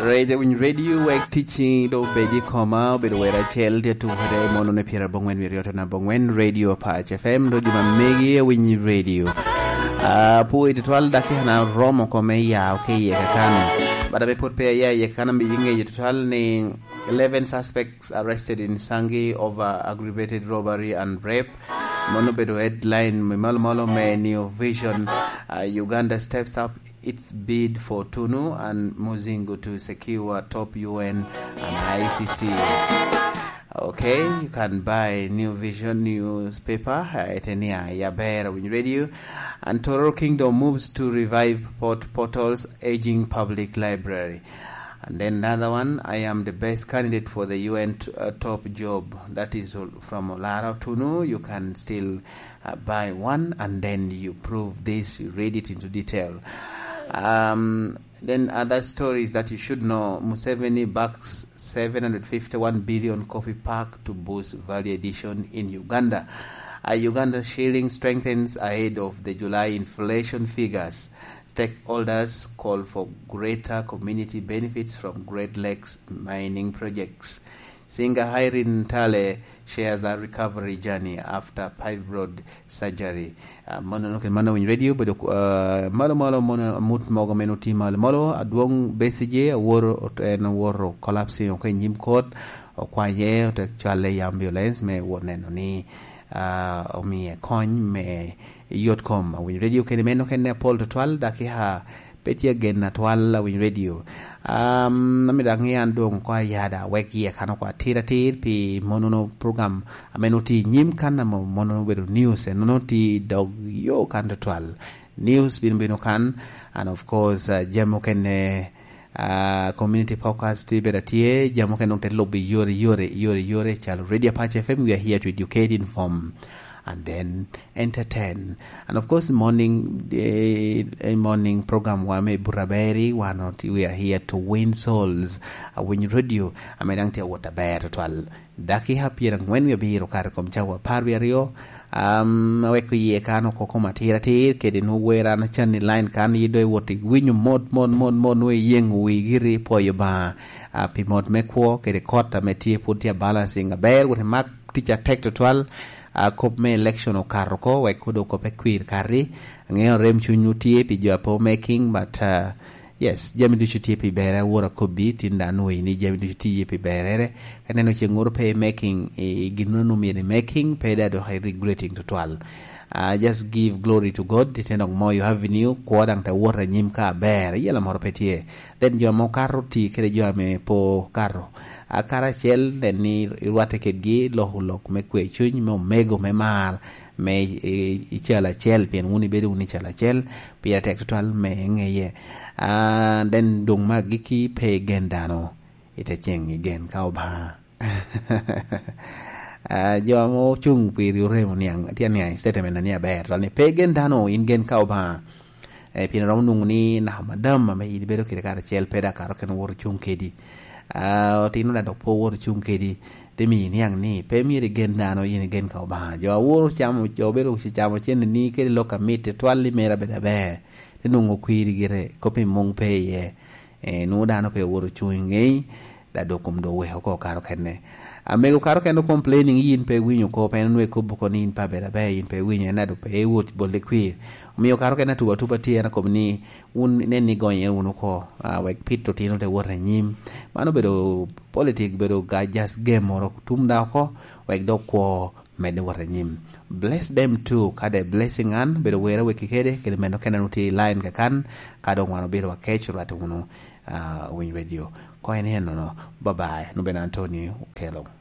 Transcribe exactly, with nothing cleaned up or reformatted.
Right, Awiny Radio, wek ticci do bedi koma, obedo wera acel, tye tukere mono ne pyera bongwen wiryot na bongwen, Radio Pac F M, do juma megi Awiny Radio. Ah, pu iti twal daki hana romo kome ya, oke ye kakan. Bada me put pe ya ye kakan, ambi yinge ye twal ni eleven suspects arrested in Sangi over aggravated robbery and rape. Mono bedo headline me malo malo me New Vision. Uh, Uganda steps up its bid for Tunu and Muzingu to secure top U N and I C C. Okay, you can buy New Vision newspaper. Uh, etenia Yabera Win Radio and Tororo Kingdom moves to revive port portal's aging public library. And then another one, I am the best candidate for the U N t- uh, top job. That is from Olara Tunu. You can still uh, buy one and then you prove this, you read it into detail. Um, then other stories that you should know. Museveni backs seven hundred fifty-one billion coffee pack to boost value addition in Uganda. Uh, Uganda shilling strengthens ahead of the July inflation figures. Stakeholders call for greater community benefits from Great Lakes mining projects. Singer Irene Tale shares her recovery journey after fibroid surgery. Uh, mano no ken mano Winy Radio bedo uh, malo malo mono mut mogo meno ti malo malo adwong Besigye aworo ot- en aworo collapsing oko i nyim kot, okwanye ote cwale i ambulance me wot neno ni uh, omiye kony me yot kom. Awiny Radio kene meno kene apol tutwal, dakika pe tye agen atwal Awiny Radio. Um, amito aŋe an doŋ oko ayada wek yie kan oko atir atir pi monono program ame nwoŋo tye i nyim kan ame monono obedo news, en nwoŋo tye i dog yo kan tutwal. News bino bino kan, and of course, uh, jami okene uh, community podcast tye bedo atye, jami okene nwoŋo te lubo i yore, yore, yore, yore, calo Radio Apache F M, we are here to educate, inform, and then entertain. And of course, morning, eh, eh, morning program wa me Buraberi, wan oti, we are here to win souls. Awiny Radio, ame daŋ tye awot aber tutwal. Dakika pyeraŋwen wie abiro kare kom cawa apar wie aryo. Um, aweko iye kan oko kom atir atir, kede nwo wer an acan i line kan, yi do iwot iwinyo mot, mot, mot, mot, nwo iyeŋo wi giri, pwoyo Obaŋa, uh, pi mot me kwo, kede kot ame tye, pwod tye a balancing aber, wot imak tic atek tutwal. Uh, kop me election okato oko, wek kodo kop e kwir kati. Aŋeo rem cuny otye pi jo apo making, but, uh, yes, jami ducu tye pi bere, awor akobbi, tin dan nwoŋo ni jami ducu tye pi berere. Ka neno ce ŋoro pe making, i gin no myero i making, pe da dok i regretting tutwal. Uh, just give glory to God, ite nok mo you have in you, kwo daŋ te wot anyim ka aber, yela moro pe tye. Then jo mo kato ti kede jo ame po kato. A karacel nen ni irwatte kedgi, loko lok me kwe cuny, me omego, me mar, me i, i, i cal acel, pien wun ibedo wun i cal acel, pire tek tutwal me ŋeye. Ah, then doŋ me agikki pe igen dano, ite ceŋ igen ka Obaŋa. Ah, jo ame ocuŋ piri oremo niaŋ, tye niaŋ i statement ni aber, twal ni pe gen dano, in gen ka Obaŋa. Eh, pien romo nwoŋo ni naka madam ame in ibedo kede karacel pe dok kato kene wot ocuŋ kedi. Ah, otino da dok pe owot ocuŋ kedi. Te miyo iniaŋ ni pe myero igen dano, in igen ka Obaŋa. Jo awor ocamo, jo obedo ocamo cene ni kede lok amit tutwal ni mera bedo aber. Te nwoŋo kwiri gire, kop i muŋ pe iye. Eh, nwoŋo dano pe owot ocuŋ i ŋei, da dok kom do weko oko kato kene. Amego kato kene complaining, in pe iwinyo oko, pe en onwe kobo oko ni in pe abedo aber, in pe iwinyo, en ado pe iwot bol i kwir. Omiyo kato kene atuba atuba tye, en akobo ni wun nen ni gonye wunu oko, ah, wek pit otino te wot anyim. Mano obedo politic, bedo ga just game moro, tum da oko, wek dok kwo medde wot anyim. Bless them too, ka de blessing an, bedo wera weki kede, kede meno kene nu tye i line kakan, ka dong wan obiro wakec rwate wunu, ah, Winy Radio. Ko en en nono. Bye bye. Nubena Antonio Okello.